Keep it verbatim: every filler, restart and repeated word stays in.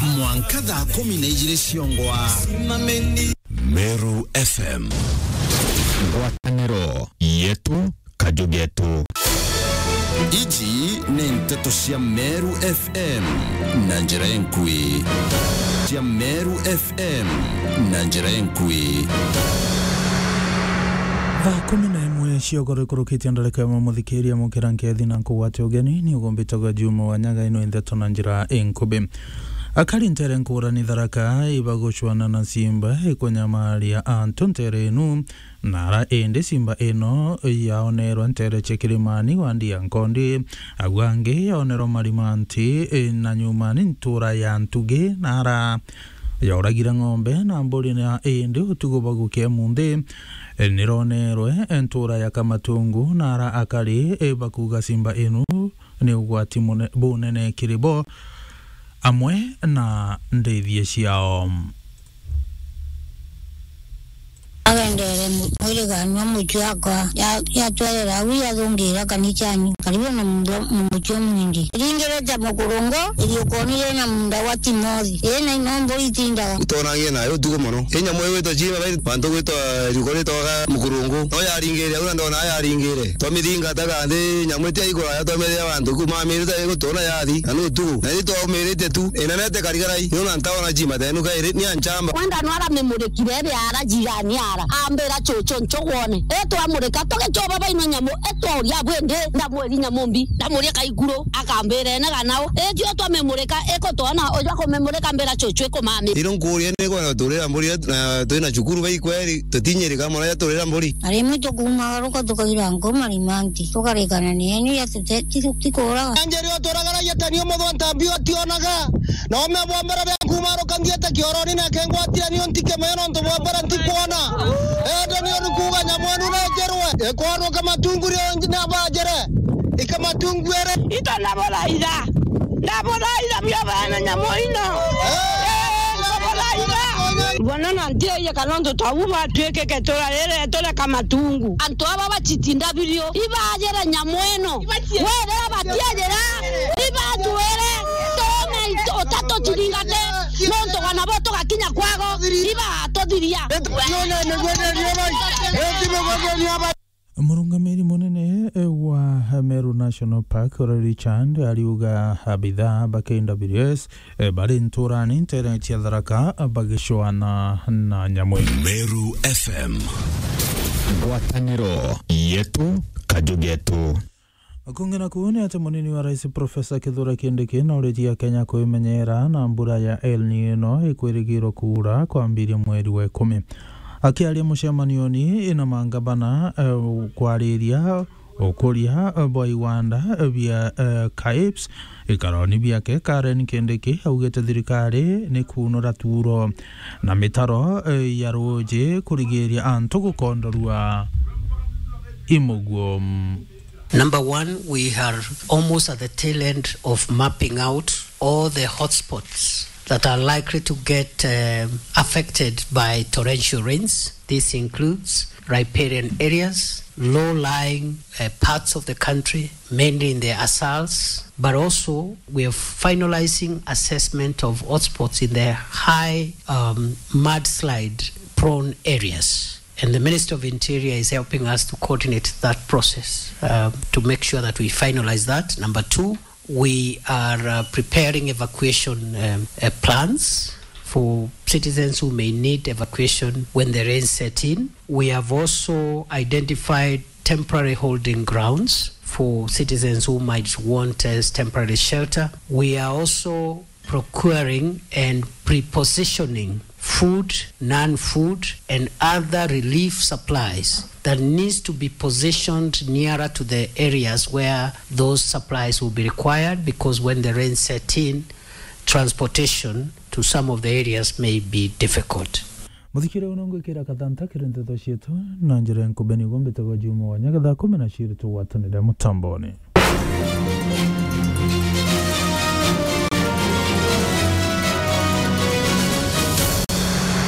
Mwanka thaa kumi na ijiri ciongwa. Meru F M. Ngwataniro yetu, kaju getu. Iji ni nteto cia Meru F M na njira enkui. Cia Meru F M na njira enkui. Thaa kumi na imwe ciokoro ikurukitie ndarika ya muthikiria mukira nkethi na nkugwate ugeni, ni ugumbitagwa Juma wa Nyaga, ino nteto na njira enkubi. Akari ntere nkurani Tharaka ibagucwana na simba ikunyamaria antu ntere inu, nara indi simba ino yaonerwa ntere cia Kirimani wandi ya Nkondi, au angi yaonerwa Marimanti, e, na nyumani ntura ya Ntugi, nara yauragire ng'ombe na mburi na indi utuku bagukia munthi, e, nironerwe, e, ntura ya Kamatungu, nara akari, e, bakuga simba inu ni ugwati mune-, bunene kiri bo, amwe na ndithie ciao. Agendere mu-, mwiriganua mucii wakwa, ya-, yatwerera au yathungira kanicani, karibu na munda, mucii umunindi. Iringirite mukurungu, iriukonire na munda wa Timothi. Ii na ino mburi itindaga. Tonangie nayo utuku mono. Ii nyamu igwitwa Jima, bai-, bantu gwitwa riuko ritwaga mukurungu. No yaringire au na ndona yaringire. Twamithingata kandi nyamu iti aikuraya, twamithia bantu kuma mirite igutona yathi, na ni utuku. Na ni twaumiritie tu, inenete karigarai, ni una ntaona Jima tenu kairi, ni anchamba. Wenda no aramimurikire ebe ara jirani ara, ambira, "Chuchu, nchugwone." Etwamurika, tugichoba baino nyamu, etwauria bwindi, ndamwiri nyamu mbi, ndamuria kaikuru, akambira ene ganao. Etio twamimurika, ikutwona, ujwa kumimurika mbira chuchu ikumami. Iro nkuria ni kwenda turira mburi yetu, na twina cukuru bai kweri, tutinyirika mono ya turira mburi. Na rimwe tukumagaruka tukaira nko Marimanti, tukarikana ni enu ya tute-, ti-, tikuraga. Anjeri oturagaragia tani omuthwa ntambi otionaga. Na ome bwa mbere bia kumaruka ngiete kioroni na kengwatira nio ntike moyo nontu bwa mbere ntikwona. Ende nio nikuga nyamu enu nejerwe. Ikwaruka Matungu rio nji-, nabajere. Ika Matungu ere. Ito naburaira. Naburaira bio bana nyamu ino. Eh, naburaira. Bona na ntiaia kana ntu twabu batwikike turarire tureka Matungu. Antu aba bachitinda birio. Ibajere nyamu ino. Wethira batiejera, ibatwire, tuume itu-, utatu tuthingate, nontu wana bo tugakinya kwago, ibagatuthiria. Murungamiri munene wa Meru National Park, Richard, ariuga abithaa ba K W S, eh, bari nturani ntere cia Tharaka bagicwana na nyamu. Meru F M. Ngwataniro yetu, kaju getu. Kungi naku ni ati munini wa rais Professor Kithure Kindiki nauritie Akenya kwimenyera na mbura ya El Nino ikwirigirwo kuura kwambiria mweri wa ikumi. Akiaria mucemanioni na mangavana, eh, kwariria ukuria bwa iwanda bia, eh, KAIPS, ikaroni biake Karen Kindiki augite thirikari ni kuunura tuuro na mitaro, eh, ya ruuji kurigiria antu gukondorua i muguo. Number one, we are almost at the tail end of mapping out all the hotspots that are likely to get, um, affected by torrential rains. This includes riparian areas, low-lying, uh, parts of the country, mainly in the Asals, but also we are finalizing assessment of hotspots in the high, um, mudslide-prone areas. And the Ministry of Interior is helping us to coordinate that process, um, to make sure that we finalize that. Number two, we are, uh, preparing evacuation, um, uh, plans for citizens who may need evacuation when the rains set in. We have also identified temporary holding grounds for citizens who might want, uh, temporary shelter. We are also procuring and pre-positioning food, non-food, and other relief supplies that needs to be positioned nearer to the areas where those supplies will be required, because when the rain set in, transportation to some of the areas may be difficult. Muthikire uno ngwikira kathanta kiri nteto cietu na njira ya nkubeni gumbite gwa Juma wa Nyaga thaa kumi na ciiri tugwatanire mutamboni.